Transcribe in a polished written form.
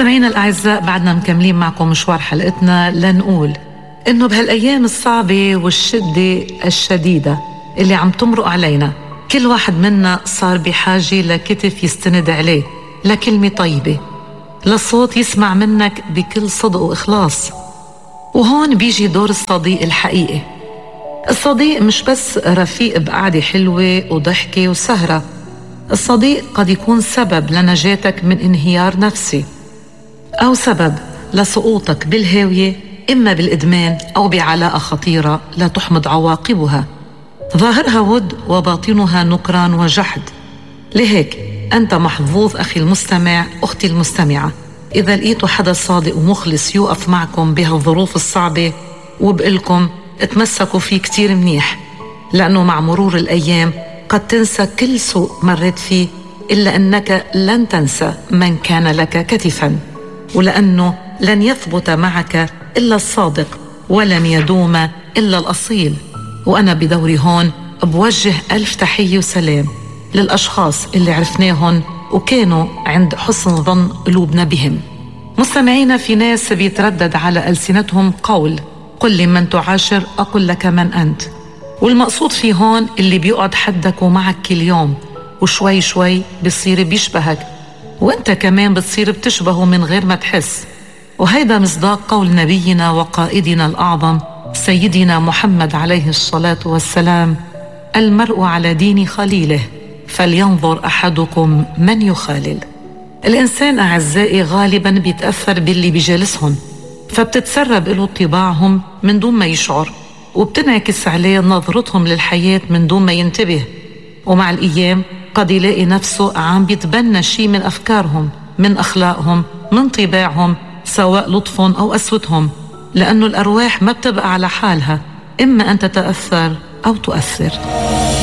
مستمعينا الأعزاء، بعدنا مكملين معكم مشوار حلقتنا لنقول إنه بهالأيام الصعبة والشدة الشديدة اللي عم تمرق علينا، كل واحد منا صار بحاجة لكتف يستند عليه، لكلمة طيبة، لصوت يسمع منك بكل صدق وإخلاص. وهون بيجي دور الصديق الحقيقي. الصديق مش بس رفيق بقعدة حلوة وضحكة وسهرة، الصديق قد يكون سبب لنجاتك من انهيار نفسي، أو سبب لسقوطك بالهاوية، إما بالإدمان أو بعلاقة خطيرة لا تحمد عواقبها، ظاهرها ود وباطنها نكران وجحد. لهيك أنت محظوظ أخي المستمع، أختي المستمعة، إذا لقيتوا حدا صادق ومخلص يوقف معكم بهالظروف الصعبة وبقلكم اتمسكوا فيه كتير منيح، لأنه مع مرور الأيام قد تنسى كل سوء مريت فيه، إلا أنك لن تنسى من كان لك كتفاً، ولأنه لن يثبت معك إلا الصادق، ولن يدوم إلا الأصيل. وأنا بدوري هون بوجه ألف تحية وسلام للأشخاص اللي عرفناهم وكانوا عند حسن ظن قلوبنا بهم. مستمعينا، في ناس بيتردد على ألسنتهم قول قل لي من تعاشر أقول لك من أنت، والمقصود في هون اللي بيقعد حدك ومعك كل يوم، وشوي شوي بيصير بيشبهك، وانت كمان بتصير بتشبهه من غير ما تحس. وهيدا مصداق قول نبينا وقائدنا الأعظم سيدنا محمد عليه الصلاة والسلام: المرء على دين خليله فلينظر أحدكم من يخالل. الإنسان أعزائي غالبا بيتأثر باللي بيجالسهم، فبتتسرب له طباعهم من دون ما يشعر، وبتنعكس عليه نظرتهم للحياة من دون ما ينتبه، ومع الأيام قد يلاقي نفسه عم بيتبنى شيء من أفكارهم، من أخلاقهم، من طباعهم، سواء لطفهم أو قسوتهم، لأنه الأرواح ما بتبقى على حالها، إما أن تتأثر أو تؤثر.